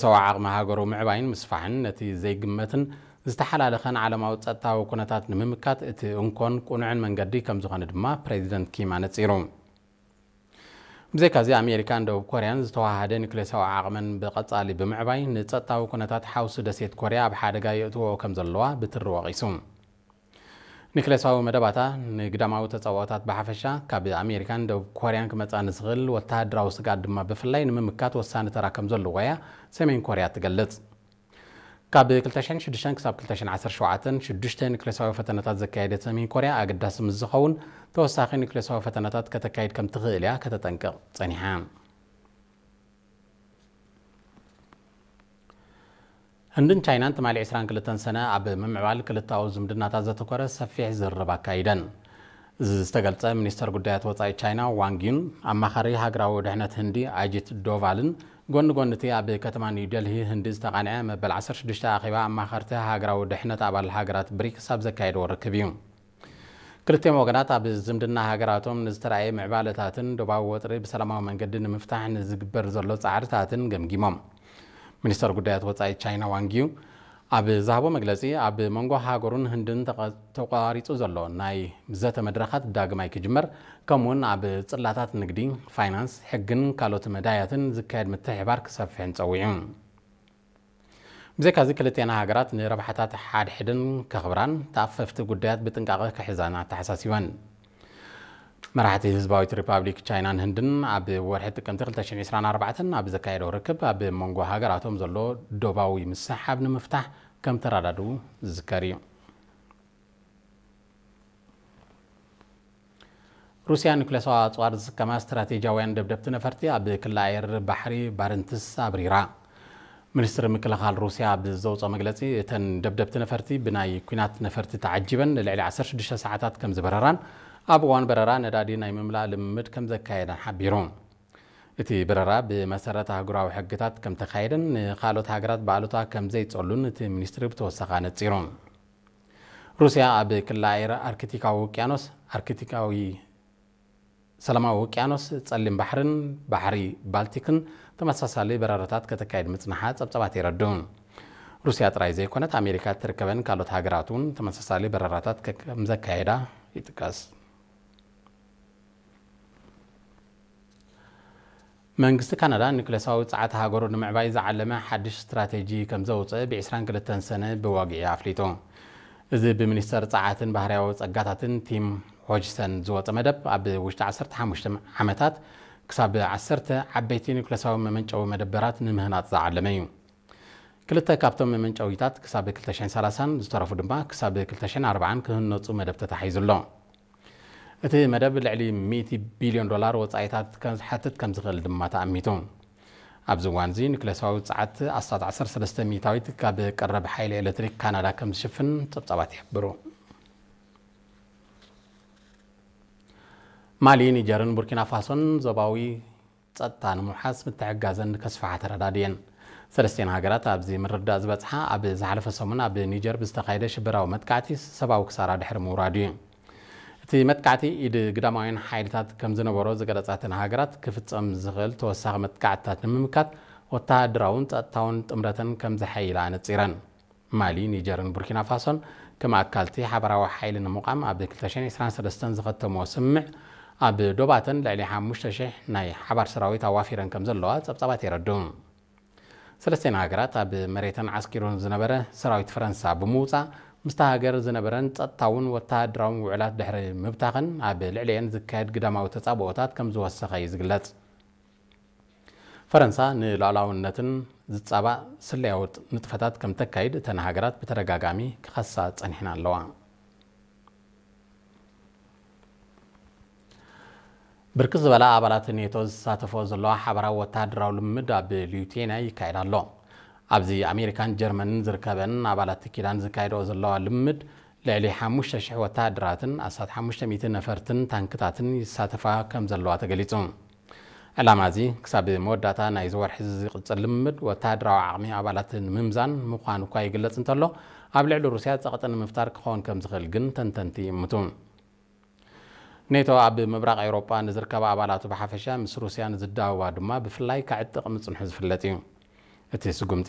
ሰው ዓቕሚ ሃገሩ ምዕባይን ምስፋሕን ነቲ ዘይግመትን ዝተሓላለኸን ዓለማዊ ጸጥታዊ ኩነታት ንምምካት እቲ እንኮን ቅኑዕን መንገዲ ከም ዝኾነ ድማ ፕሬዚደንት ኪም ኣነጺሩ። ብዘይካዚ ኣሜሪካን ደቡብ ኮርያን ዝተዋሃደ ኒክሌሳዊ ዓቕመን ብቐጻሊ ብምዕባይ ንጸጥታዊ ኩነታት ሓውሲ ደሴት ኮርያ ኣብ ሓደጋ የእትዎ ከም ዘለዋ ብትሪ ወቒሱ። ኒክሌሳዊ መደባታ ንግዳማዊ ተጻብኦታት ብሓፈሻ ካብ ኣሜሪካን ደቡብ ኮርያን ክመጻ ንዝኽእል ወተሃደራዊ ስግኣት ድማ ብፍላይ ንምምካት ወሳኒ ተራ ከም ዘለዎያ ሰሜን ኮርያ ትገልጽ። ካብ ክልተ ሽሕን ሽዱሽተን ክሳብ ክልተ ሽሕን ዓሰርተ ሸውዓተን ሽዱሽተ ኒክሌሳዊ ፈተነታት ዘካየደት ሰሜን ኮርያ ኣገዳሲ ምስ ዝኸውን ተወሳኺ ኒክሌሳዊ ፈተነታት ከተካይድ ከም ትኽእል እያ ከተጠንቅቕ ጸኒሓ። ህንድን ቻይናን ትማሊ ዕስራን ክልተን ሰነ ኣብ ምምዕባል ክልታዊ ዝምድናታት ዘተኮረ ሰፊሕ ዝርርብ ኣካይደን። እዚ ዝተገልጸ ሚኒስተር ጉዳያት ወጻኢ ቻይና ዋንግ ዩን ኣማኻሪ ሃገራዊ ድሕነት ህንዲ ኣጂት ዶቫልን ጎኒ ጎኒ እቲ ኣብ ከተማ ኒው ደልሂ ህንዲ ዝተቓንዐ መበል ዓሰርተ ሽዱሽተ ኣኼባ ኣማኸርቲ ሃገራዊ ድሕነት ኣባል ሃገራት ብሪክስ ኣብ ዘካየድዎ ርክብ እዩ። ክልቲኦም ወገናት ኣብ ዝምድና ሃገራቶም ንዝተራእየ ምዕባለታትን ዶባዊ ወጥሪ ብሰላማዊ መንገዲ ንምፍታሕ ንዝግበር ዘሎ ጻዕርታትን ገምጊሞም። ሚኒስተር ጉዳያት ወጻኢ ቻይና ዋንጊዩ ኣብ ዝሃቦ መግለጺ ኣብ መንጎ ሃገሩን ህንድን ተቋ- ተቋሪጹ ዘሎ ናይ ዘተ መድረኻት ዳግማይ ክጅመር ከምኡውን ኣብ ጽላታት ንግዲ፣ ፋይናንስ፣ ሕግን ካልኦት መዳያትን ዝካየድ ምትሕባር ክሰፍሕን ጸዊዑ። ብዘይካዚ ክልቴና ሃገራት ንረብሓታት ሓድሕድን ከኽብራን ተኣፈፍቲ ጉዳያት ብጥንቃቐ ክሕዛን ኣተሓሳሲበን። መራሕቲ ህዝባዊት ሪፓብሊክ ቻይናን ህንድን ኣብ ወርሒ ጥቅምቲ ክልተ ሽሕን ዕስራን ኣርባዕተን ኣብ ዘካየደው ርክብ ኣብ መንጎ ሃገራቶም ዘሎ ዶባዊ ምስሕሓብ ንምፍታሕ ከም ተረዳድኡ ዝዝከር እዩ። ሩስያ ኒኩሌሳዊ ኣጽዋር ዝስከማ ስትራቴጂያውያን ደብደብቲ ነፈርቲ ኣብ ክሊ ኣየር ባሕሪ ባረንትስ ኣብሪራ። ሚኒስትሪ ምክልኻል ሩስያ ኣብ ዘውፅኦ መግለፂ እተን ደብደብቲ ነፈርቲ ብናይ ኲናት ነፈርቲ ተዓጂበን ንልዕሊ ዓሰርተ ሽዱሽተ ሰዓታት ከም ዝበረራን ኣብ እዋን በረራ ነዳዲ ናይ ምምላእ ልምምድ ከም ዘካየዳን ሓቢሩ። እቲ በረራ ብመሰረት ኣህጉራዊ ሕግታት ከም ተኻየደን ንኻልኦት ሃገራት ብኣሉታ ከም ዘይጸሉን እቲ ሚኒስትሪ ብተወሳኺ ኣነጺሩ። ሩስያ ኣብ ክሊ ኣየር ኣርክቲካዊ ውቅያኖስ፣ ኣርክቲካዊ ሰላማዊ ውቅያኖስ፣ ጸሊም ባሕርን ባሕሪ ባልቲክን ተመሳሳሊ በረራታት ከተካይድ ምጽንሓ ጸብጻባት የረድኡ። ሩስያ ጥራይ ዘይኮነት ኣሜሪካ እትርከበን ካልኦት ሃገራት እውን ተመሳሳሊ በረራታት ከ- ከም ዘካየዳ ይጥቀስ። መንግስቲ ካናዳ ኒኩሌሳዊ ጸዓት ሃገሩ ንምዕባይ ዝዓለመ ሓድሽ ስትራቴጂ ከም ዘውፅእ ብ ዕስራን ክልተን ሰነ ብዋግዒ ኣፍሊጡ። እዚ ብሚኒስተር ጸዓትን ባህርያዊ ጸጋታትን ቲም ሆጅሰን ዝወፀ መደብ ኣብ ውሽጢ ዓሰርተ ሓሙሽተ ዓመታት ክሳብ ዓሰርተ ዓበይቲ ኒኩሌሳዊ መመንጨዊ መደበራት ንምህናፅ ዝዓለመ እዩ። ክልተ ካብቶም መመንጨዊታት ክሳብ ክልተ ሽሕን ሰላሳን ዝተረፉ ድማ ክሳብ ክልተ ሽሕን ኣርባዓን ክህነፁ መደብ ተታሒዙ ኣሎ። እቲ መደብ ልዕሊ ሚእቲ ቢልዮን ዶላር ወጻኢታት ከም ዝሓትት ከም ዝኽእል ድማ ተኣሚቱ። ኣብዚ እዋን እዚ ኒኩሌሳዊ ጸዓት ኣስታት ዓሰርተ ሰለስተ ሚእታዊት ካብ ቀረብ ሓይሊ ኤሌክትሪክ ካናዳ ከም ዝሽፍን ጸብጻባት ይሕብሩ። ማሊ፣ ኒጀርን ቡርኪና ፋሶን ዞባዊ ጸጥታ ንምውሓስ ምትሕጋዘን ከስፍሓ ተረዳድየን። ሰለስቲኤን ሃገራት ኣብዚ ምርድዳእ ዝበጽሓ ኣብ ዝሓለፈ ሰሙን ኣብ ኒጀር ብዝተኻየደ ሽበራዊ መጥቃዕቲ ሰብኣዊ ክሳራ ድሕሪ ምውራዱ እዩ። እቲ መጥቃዕቲ ኢድ ግዳማውያን ሓይልታት ከም ዝነበሮ ዝገለጻ እተን ሃገራት ክፍጸም ዝኽእል ተወሳኺ መጥቃዕትታት ንምምካት ወተሃደራውን ጸጥታውን ጥምረተን ከም ዘሐይላ ኣነጺረን። ማሊ፣ ኒጀርን ቡርኪና ፋሶን ከም ኣካልቲ ሓባራዊ ሓይሊ ንምቋም ኣብ ክልተ ሽሕን ዕስራን ሰለስተን ዝኸተምዎ ስምምዕ ኣብ ዶባተን ልዕሊ ሓሙሽተ ሽሕ ናይ ሓባር ሰራዊት ኣዋፊረን ከም ዘለዋ ጸብጻባት የረድኡ። ሰለስቲኤን ሃገራት ኣብ መሬተን ዓስኪሩ ዝነበረ ሰራዊት ፈረንሳ ብምውጻእ ምስታ ሃገር ዝነበረን ጸጥታውን ወተሃደራውን ውዕላት ድሕሪ ምብታኸን ኣብ ልዕሊኤን ዝካየድ ግዳማዊ ተጻብኦታት ከም ዝወሰኸ እዩ ዝግለጽ። ፈረንሳ ንሉዓላውነትን ዝጻባእ ስለያዊ ንጥፈታት ከም ተካይድ እተን ሃገራት ብተደጋጋሚ ክኸሳ ጸኒሕን ኣለዋ። ብርክት ዝበላ ኣባላት ኔቶ ዝሳተፎ ዘለዋ ሓባራዊ ወተሃደራዊ ልምምድ ኣብ ሊቱዌንያ ይካየድ ኣሎ። ኣብዚ ኣሜሪካን ጀርመንን ዝርከበን ኣባላት ኪዳን ዝካየድኦ ዘለዋ ልምምድ ልዕሊ ሓሙሽተ ሽሕ ወተሃደራትን ኣስታት ሓሙሽተ ሚእቲ ነፈርትን ታንክታትን ይሳተፋ ከም ዘለዋ ተገሊጹ። ዕላማ እዚ ክሳብ መወዳእታ ናይዚ ወርሒ ዝቕጽል ልምምድ ወተሃደራዊ ዓቕሚ ኣባላት ንምምዛን ምዃኑ እኳ ይግለጽ እንተሎ፣ ኣብ ልዕሊ ሩስያ ጸቕጢ ንምፍጣር ክኸውን ከም ዝኽእል ግን ተንተንቲ ይእምቱ። ኔቶ ኣብ ምብራቕ ኤውሮጳ ንዝርከባ ኣባላቱ ብሓፈሻ ምስ ሩስያ ንዝዳወባ ድማ ብፍላይ ከዕጥቕ ምጽንሑ ዝፍለጥ እዩ። እቲ ስጉምቲ